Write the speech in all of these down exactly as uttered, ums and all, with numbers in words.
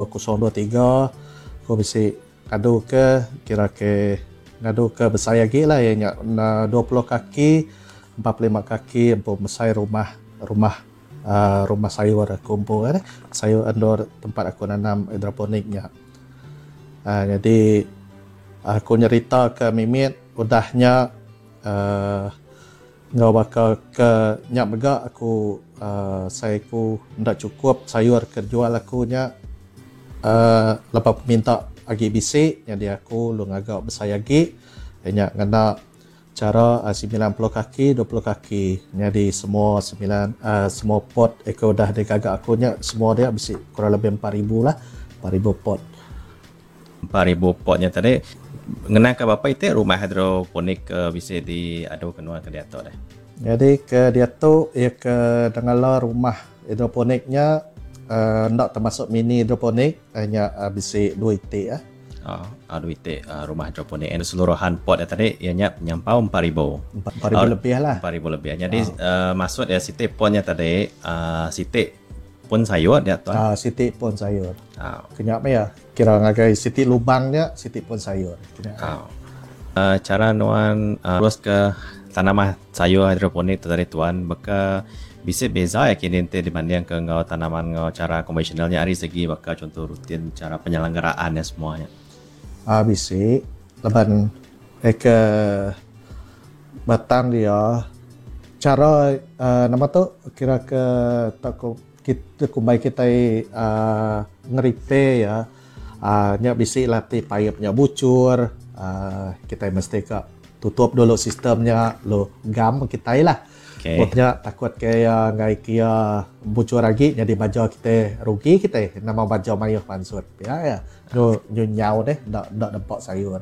kosong dua tiga aku bisi ngadu ke kira ke ngadu ke besai agi lah iya nya dua puluh kaki empat puluh lima kaki empu mesai rumah rumah uh, rumah sayur aku empu eh sayur endur tempat aku nanam hidroponik nya. Uh, jadi aku nyerita ke mimit udahnya uh, ngau baka ke nya mega aku uh, saya ku ndak cukup sayur ke jual aku nya uh, lepas minta agi bisi jadi aku lu ngagak besai agi nya ngena cara uh, sembilan puluh kaki dua puluh kaki. Jadi semua sembilan uh, semua pot eko dah digagak aku nya semua dia bisi kurang lebih empat ribu lah, empat ribu pot. empat ribu potnya tadi ngena ke bapa itu rumah hidroponik ke bisa diadu ke nuan ke diatu deh. Jadi ke diatu ia ke dengala rumah hidroponiknya uh, ndak termasuk mini hidroponik hanya uh, bisi dua itik ah. Oh, uh, dua itik uh, rumah hidroponik and keseluruhan pot tadi ianya nyampau empat ribu. empat ribu uh, lebih lah. empat ribu lebih. Jadi oh. uh, maksud ya sitik potnya tadi uh, sitik pun sayur dia tuan. Ah, sitik pun sayur. Ah. Kenyak ya. Kira ngagai sitik lubangnya sitik pun sayur. Kenyak. Ah. Uh, cara nuan uh, terus ke tanaman sayur hidroponik tu tadi tuan beka bisa beza ya kini ente dibanding ke ngau tanaman ngau cara konvensionalnya ari segi baka contoh rutin cara penyelenggaraan ya semuanya. Ah bisi laban eh ke batang dia cara uh, nama tu kira ke tak ko kita kumbai kita uh, ngeripe ya uh, nya bisi latih pipe-nya bucur uh, kita mesti ke tutup dulu sistemnya lo gam kita lah. Okay. Botnya takut kaya ngai kia bucur lagi jadi baju kita rugi kita nama baju mayuh mansut ya ya nyu nyu nyau deh ndak ndak nampak sayur.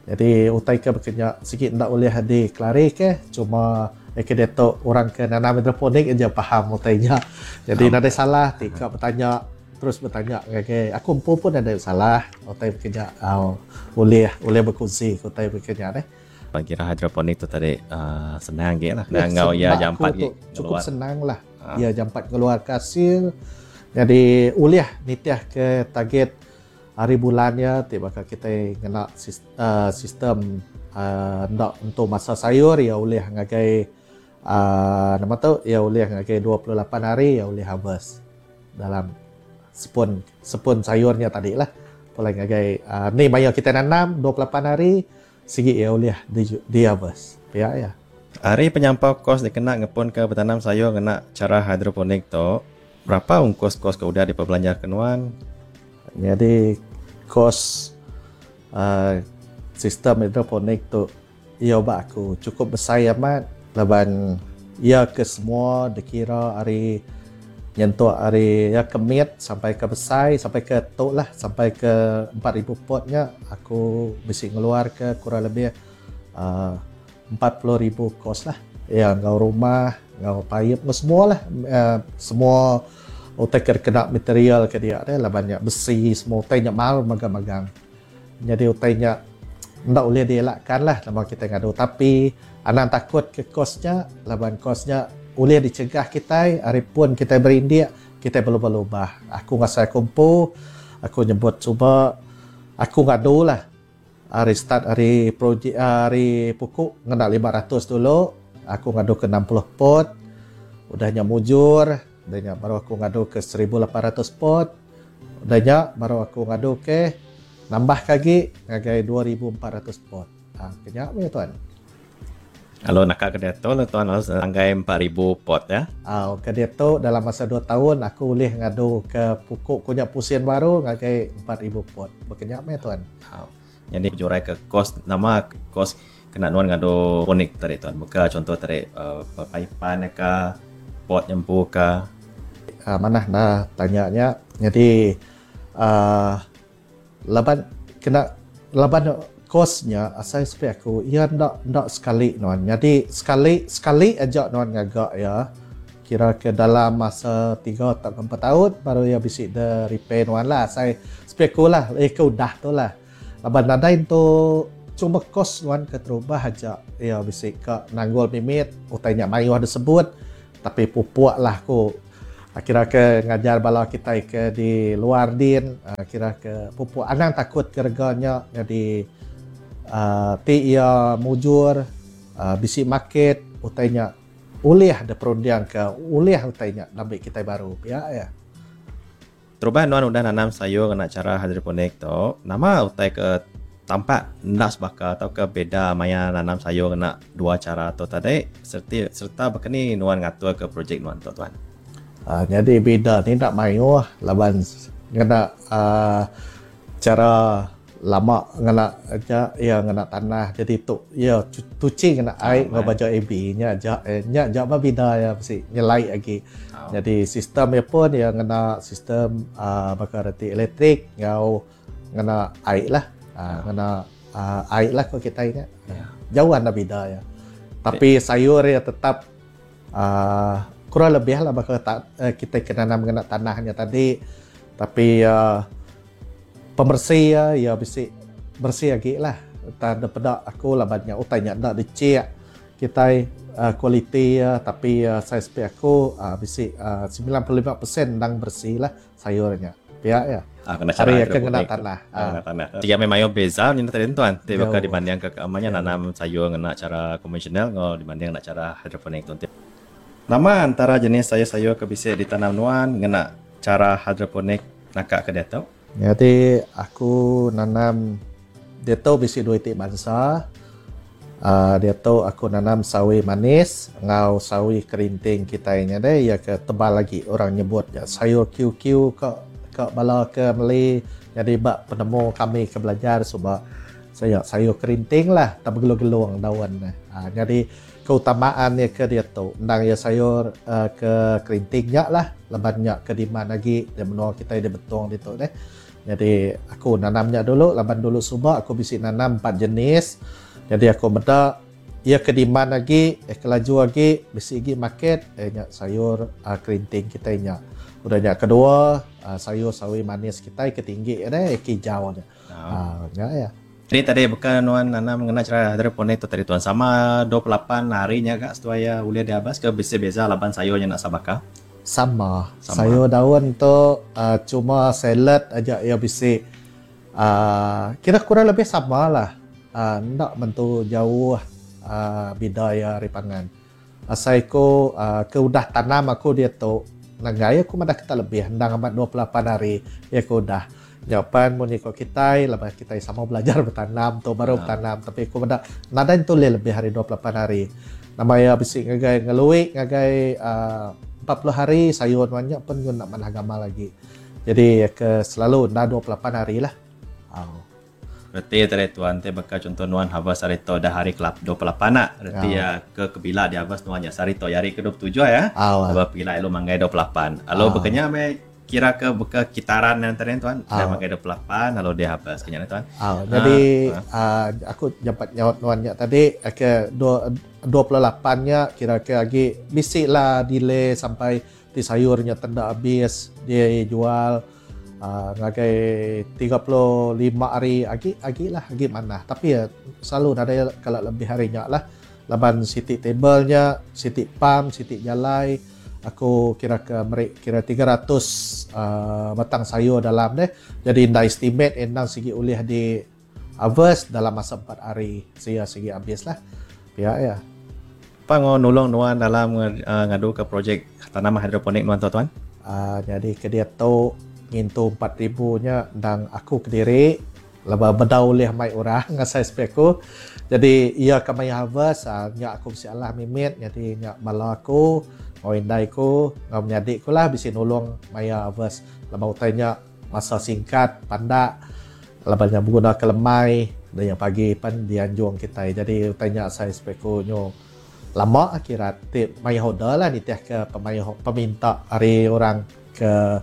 Jadi utai ke bekenya sikit ndak boleh di kelari ke cuma eh ke detok orang ke nanam hidroponik aja faham utainya. Jadi oh. Nada salah tika bertanya terus bertanya ke aku empu pun ada salah utai bekenya oh, boleh boleh berkongsi utai bekenya deh. Kira hidroponik tu tadi uh, senang ge lah. Ya, ngau ya jampat ge. Cukup senang lah. Ha. Ya jampat keluar hasil. Jadi uliah nitiah ke target hari bulannya tiba kita kena sistem uh, ndak untuk masa sayur ya uliah ngagai uh, nama tu ya uliah ngagai dua puluh lapan hari ya uliah harvest dalam sepun sepun sayurnya tadi lah. Boleh ngagai uh, ni maya kita nanam dua puluh lapan hari sigi ya uliah di, di harvest. Ya ya. Hari penyampau kos dikena ngepun ke bertanam sayur ngena cara hidroponik tu berapa ongkos kos ke udah diperbelanja kenuan? Jadi kos uh, sistem hidroponik tu ia ba aku cukup besar amat laban ia ke semua dikira hari nyentuh hari ya kemit sampai ke besai sampai ke tok lah sampai ke empat ribu potnya aku bisi ngeluar ke kurang lebih uh, empat puluh ribu kos lah ya ngau rumah ngau pipe ngau semua lah uh, semua utai kena material ke dia deh lah banyak besi semua utai nya mahal magang-magang. Jadi utai nya ndak boleh dielakkan lah nama kita ngadu tapi anak takut ke kosnya laban kosnya boleh dicegah kita hari pun kita berindik kita berlubah-lubah. Aku rasa aku empu aku nyebut cuba aku ngadu lah hari start hari projek hari pukul ngena lima ratus dulu aku ngadu ke enam puluh pot udahnya mujur udahnya baru aku ngadu ke seribu lapan ratus pot udahnya baru aku ngadu ke nambah lagi ngagai dua ribu empat ratus pot. Ha, kenyak punya tuan. Kalau nak ke diatu lah tuan harus anggai empat ribu pot ya. Ah, ke diatu dalam masa dua tahun aku boleh ngadu ke pukul punya pusin baru ngagai empat ribu pot. Berkenyak meh tuan. Ah. Jadi jurai ke kos nama kos kena nuan ngadu ponik tadi tuan. Buka contoh tadi uh, paipan ke pot nyempu ke. Ah, mana nah tanyanya. Jadi uh, laban kena laban kosnya asal sepi aku ia ndak ndak sekali nuan. Jadi sekali sekali aja nuan ngagak ya. Kira ke dalam masa tiga atau empat tahun baru ia bisi de repair nuan lah. Saya sepi aku lah, eh ke udah tu lah. Laban nadai tu cuma kos nuan ke terubah aja ia bisi ke nanggul mimit utainya mayu ada sebut tapi pupuk lah aku. Kira ke ngajar bala kitai ke di luar din, kira ke pupuk anang takut ke rega nya nyadi uh, ti iya mujur, uh, bisi market utai nya ulih diperunding ke ulih utai nya ambi kitai baru pia ya. Terubah nuan udah nanam sayur ngena chara hidroponik tu, nama utai ke tampak enda sebaka tauka beda maya nanam sayur ngena dua chara tu tadi serta serta baka ni nuan ngatur ke projek nuan tu tuan? Uh, jadi beda ni tak mayuh laban ngena uh, cara lama ngena aja ya ngena tanah jadi tu ya tuci ngena air ngau baju A B nya aja eh, nya aja ba beda ya mesti nyelai lagi. Oh. Jadi sistem ya pun ya ngena sistem uh, bakal reti elektrik ngau ngena air lah. Uh, ngena uh, air lah ko kita nya. Yeah. Jauh anda beda ya. Tapi sayur ya tetap uh, kurang lebih lah bakal tak, eh, kita kena nanam ngena tanahnya tadi, tapi uh, pembersih ya, ya bisi bersih lagi lah. Tak ada pedak aku lah banyak utainya ndak dicek kita uh, kualiti ya, tapi uh, saiz pe aku uh, bisi uh, sembilan puluh lima peratus ndang bersih lah sayurnya. Pihak ya. Ah, kena cara hari kena tanah. Ah, kena tanah. Tiga memang beza ni tadi tuan. Ti bakal dibanding ke keamannya nanam sayur ngena cara konvensional ngau dibanding ngena cara hidroponik tuan. Nama antara jenis sayur-sayur ke bisa ditanam nuan ngena cara hidroponik nakak ke dia tu? Jadi aku nanam dia tu bisi dua itik bangsa. Uh, dia tu aku nanam sawi manis ngau sawi kerinting kita nya deh ya ke tebal lagi orang nyebut ya sayur Q Q ke ke bala ke Malay. Jadi bak penemu kami ke belajar sebab saya sayur kerinting lah tak bergelung-gelung daun. Uh, jadi keutamaan dia ke dia tu ndang ya sayur uh, ke kerintingnya lah lebannya ke di mana lagi dia menua kita dia betong di tu deh. Jadi aku nanamnya dulu laban dulu subak aku bisi nanam empat jenis. Jadi aku beda ia ke di mana lagi eh kelaju lagi bisi lagi market eh nya sayur uh, kerinting kita nya. Udah nya kedua uh, sayur sawi manis kita ke tinggi deh ke hijau nya. Ah uh, nya ya. Jadi tadi bukan nuan nanam ngena cara hidroponik tu tadi tuan sama dua puluh lapan harinya kak setuai ya ulia diabas ke bisa beza laban sayurnya nak sabaka? Sama. Sama. Sayur daun tu uh, cuma salad aja ya bisi uh, kira kurang lebih sama lah. Uh, ndak bentu jauh uh, beda ya ripangan. Asai ko uh, ke udah tanam aku dia tu nanggai aku madah kita lebih ndang amat dua puluh lapan hari ya aku udah. Jawapan mun ikut kita, lepas kita sama belajar bertanam tu baru ha. Bertanam tapi aku pada nadai tu lebih hari dua puluh lapan hari. Nama ya bisi ngagai ngelui ngagai uh, empat puluh hari sayur banyak pun guna nak manah agama lagi. Jadi ke selalu dah dua puluh lapan hari lah. Oh. Berarti tadi tuan te bakal contoh nuan harvest hari tu dah hari ke dua puluh lapan nak. Berarti oh. Ya ke kebila di harvest nuan ya sehari tu hari ke dua puluh tujuh ya. Oh. Sebab bila elu manggai dua puluh lapan. Alo oh. Bekanya me kira ke buka kitaran yang tadi tuan, dah pakai dua puluh lapan lalu dia habis kenya tuan. Ah, jadi uh, aku dapat nyaut nuan nya tadi ke dua puluh lapan nya kira-kira lagi bisik lah delay sampai ti sayurnya tenda habis dia jual uh, ngagai tiga puluh lima hari agi agi lah agi mana tapi ya selalu ada kalau lebih harinya lah laban siti tablenya siti pam siti jalai aku kira ke merik kira tiga ratus uh, batang sayur dalam deh. Jadi nda estimate endang sigi ulih di harvest dalam masa empat hari. Sia sigi habis lah. Pihak ya. Apa ngo nulung nuan dalam uh, ngadu ke projek tanaman hidroponik nuan tuan-tuan? Uh, jadi ke dia tu ngintu empat ribu nya ndang aku kediri laba bedau ulih mai orang ngasai speku. Jadi ia ke mai harvest uh, nya aku mesti alah mimit jadi nya bala aku ngau indai ku, ngau menyadik ku lah bisi nulung maya harvest. Lama utainya masa singkat, pandak, labanya berguna kelemai, dan yang pagi pan dianjung kita. Jadi utainya saya speku nyo lama akhirat tip maya hoda lah nitiah ke pemaya peminta hari orang ke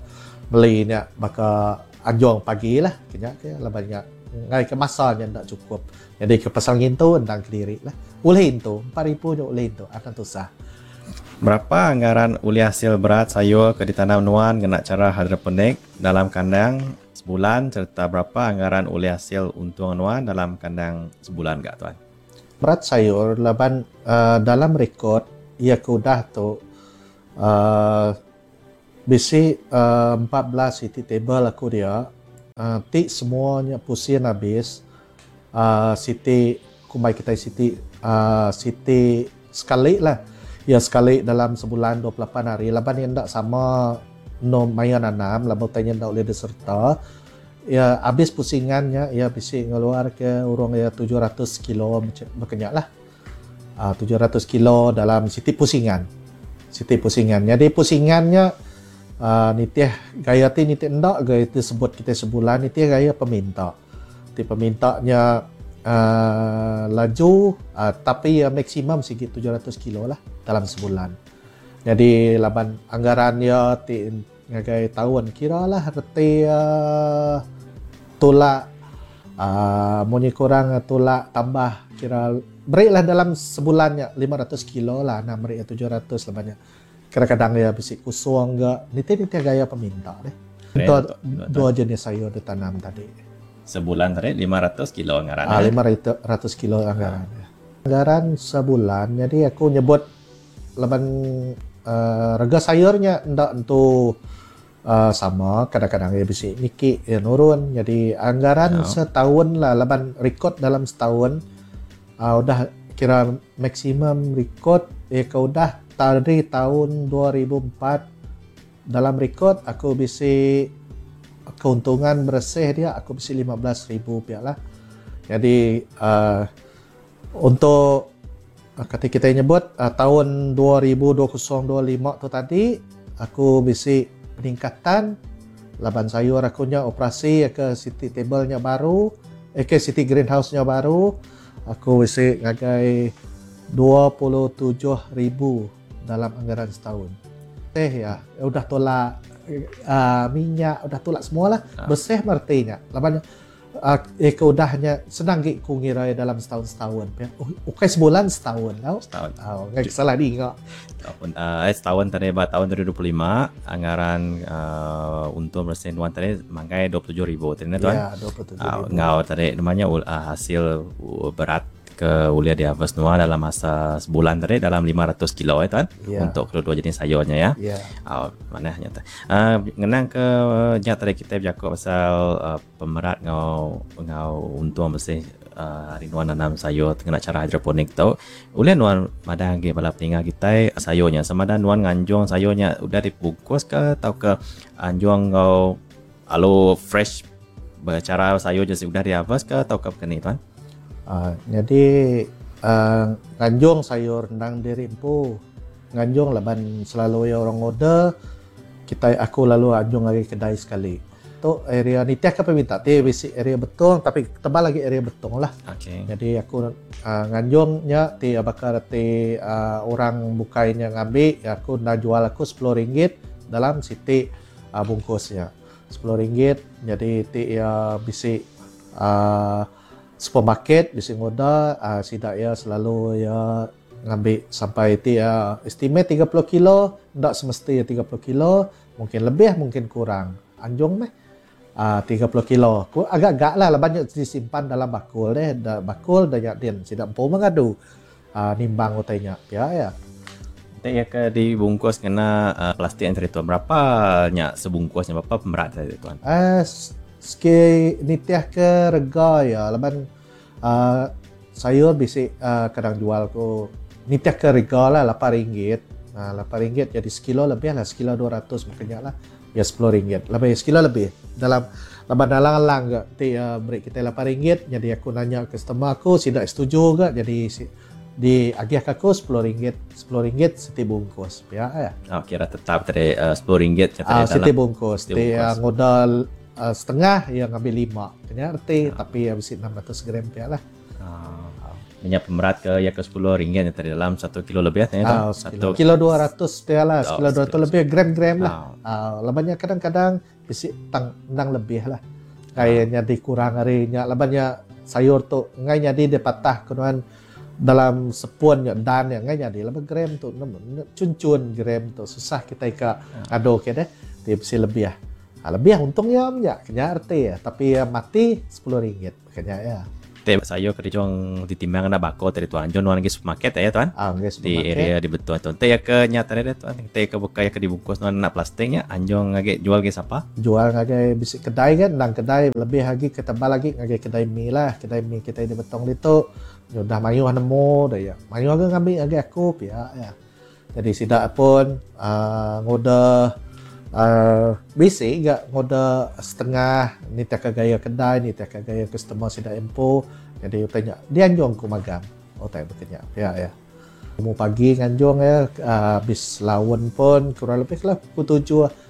beli nya baka anjung pagi lah kenya ke labanya ngai ke masanya ndak cukup. Jadi ke pasal ngintu ndang kediri lah. Ulih itu empat ribu nyo ulih itu akan tusah. Berapa anggaran uli hasil berat sayur ke ditanam nuan ngena cara hidroponik dalam kandang sebulan serta berapa anggaran uli hasil untung nuan dalam kandang sebulan gak tuan? Berat sayur laban uh, dalam rekod ia ke udah tu uh, Bisi uh, empat belas iti table aku dia. Uh, ti semuanya pusin habis. Uh, siti kumbai kita siti uh, siti sekali lah. Ya sekali dalam sebulan dua puluh lapan hari. Laban yang ndak sama no maya nanam, laban tanya ndak boleh diserta. Ya habis pusingannya ya bisi ngeluar ke urang ya tujuh ratus kilo berkenyak lah. Uh, tujuh ratus kilo dalam siti pusingan. Siti pusingan. Jadi pusingannya Uh, nitih gaya ti nitih ndak gaya ti sebut kita sebulan nitih gaya peminta. Ti pemintanya uh, laju uh, tapi uh, maksimum sikit tujuh ratus kilo lah dalam sebulan. Jadi laban anggarannya ti ngagai tahun kira lah reti uh, tolak uh, munyi kurang tolak tambah kira berilah dalam sebulannya lima ratus kilo lah nah beri tujuh ratus lah banyak. Kadang-kadang ya bisi kusung enggak. Nitih-nitih gaya peminta deh. Untuk dua jenis sayur ditanam tadi. Sebulan tadi lima ratus kilo anggaran. Ah, lima ratus kilo anggaran. Ah. Anggaran sebulan. Jadi aku nyebut laban uh, rega sayurnya ndak entu uh, sama. Kadang-kadang ya bisi niki ya nurun. Jadi anggaran oh. setahun lah laban rekod dalam setahun uh, udah kira maksimum rekod ya kau udah dari tahun dua ribu empat dalam rekod aku bisi keuntungan bersih dia aku bisi lima belas ribu rupiah lah. Jadi uh, untuk uh, kata kita nyebut uh, tahun dua ribu dua puluh dua puluh lima tu tadi aku bisi peningkatan laban sayur aku nya operasi ke city table-nya baru, eh, ke city greenhouse-nya baru aku bisi ngagai dua puluh tujuh ribu dalam anggaran setahun. Teh ya, udah tolak uh, minyak, udah tolak semualah. Ah. Bersih martinya. Laban uh, eh keudahnya senang gik ku ngira dalam setahun-setahun. Ya. Ukai sebulan setahun tau. Setahun. Oh, ngai salah di ingat. Tahun uh, eh, setahun tadi ba tahun dua ribu dua puluh lima anggaran uh, untung bersih nuan tadi mangkai dua puluh tujuh ribu tadi tuan. Ya, dua puluh tujuh ribu. Uh, ngau tadi namanya uh, hasil berat ke ulia di harvest Noah dalam masa sebulan tadi dalam lima ratus kilo ya tuan yeah. Untuk kedua-dua jenis sayurnya ya. Yeah. Oh, mana nyata. Uh, ngenang ke uh, tadi kita bercakap pasal uh, pemerat ngau ngau untung bersih uh, hari nuan nanam sayur kena cara hidroponik tu. Ulia nuan madang ge bala peninga kita sayurnya sama dan nuan nganjung sayurnya udah dibungkus ke atau ke anjung ngau alo fresh bercara sayur je udah di harvest ke atau ke keni tuan? Uh, jadi uh, nganjung sayur ndang diri empu nganjung laban selalu ya orang order kita aku lalu anjung lagi kedai sekali tu area ni tiap apa minta ti bisi area betung tapi tebal lagi area betung lah. Okay. Jadi aku uh, nganjungnya ti bakal ti uh, orang bukainya ngambil aku nak jual aku sepuluh ringgit dalam siti uh, bungkusnya sepuluh ringgit. Jadi ti ya bisi uh, supermarket di Singoda uh, sidak ya selalu ya ngambil sampai ti ya estimate tiga puluh kilo ndak semestinya tiga puluh kilo mungkin lebih mungkin kurang anjung meh uh, tiga puluh kilo ku agak-agak lah banyak disimpan dalam bakul deh da, bakul dah yak din sidak empu mengadu uh, nimbang utainya ya ya. Ya ke dibungkus kena uh, plastik yang tadi tuan berapa nyak sebungkusnya berapa pemerat tadi tuan? Eh uh, Sikit nitiah ke rega ya laban uh, sayur bisi uh, kadang jual ku nitiah ke rega lah lapan ringgit. Nah, lapan ringgit jadi sekilo lebih lah sekilo dua ratus makanya lah ya sepuluh ringgit lebih sekilo lebih dalam laban alang-alang ke ti uh, beri kita lapan ringgit jadi aku nanya customer aku tidak setuju ke jadi si, di agih aku sepuluh ringgit sepuluh ringgit seti bungkus ya ya. Oh, kira tetap tadi uh, sepuluh ringgit uh, seti bungkus ti uh, modal Uh, setengah yang ngambil lima kena erti ya. Tapi ya bisi enam ratus gram pia lah. Oh. Minyak pemerat ke ya ke sepuluh ringgit yang tadi dalam satu kilo lebih ya oh, satu kilo dua ratus pia lah, oh, sekilo dua ratus lebih gram-gram lah. Oh. Uh, labannya kadang-kadang bisi tang nang lebih lah. Kayaknya oh. dikurang harinya labannya sayur tu ngai nyadi dia patah kenuan dalam sepun ya dan yang ngai nyadi laban gram tu cun-cun gram tu susah kita ke ado ke deh dia bisi lebih ah. Lebih untungnya minyak kena erti ya, tapi ya mati sepuluh ringgit kena ya. Te sayur ke dijual ditimbang ngena bako tadi tuan. Anjung nuan agi supermarket ya tuan. Ah, ngi Di supermarket. Area di betul tuan. Te ya ke nya tadi deh tuan. Te ke bukai ke dibungkus nuan ngena plastik nya anjung agi jual agi sapa? Jual ngagai bisi kedai kan, endang kedai lebih agi ke tebal agi ngagai kedai mi lah. Kedai mi kitai di Betong ditu udah mayuh nemu dah ya. Mayuh ga ngambi ngagai aku pia ya. Jadi sida pun uh, ngoda uh, bisi ga ngoda setengah nitih ke gaya kedai, nitih ke gaya customer sida empu. Jadi utai nya dianjung ku magang. Utai bekenya pia ya. Mu pagi nganjung ya, uh, habis laun pun kurang lebih lah pukul tujuh.